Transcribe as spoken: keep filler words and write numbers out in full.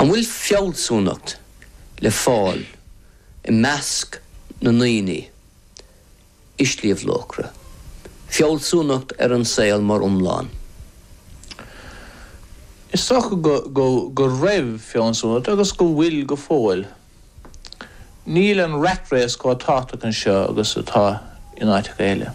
An bhfuil fealsúnacht le fáil i measc na ndaoine i Sliabh Luachra. Fealsúnacht ar an saol mar iomlán. Is dócha go, go, go raibh fealsúnacht agus go bhfuil go fóill. Níl an rat race chomh tábhachtach anseo agus atá in áiteacha eile.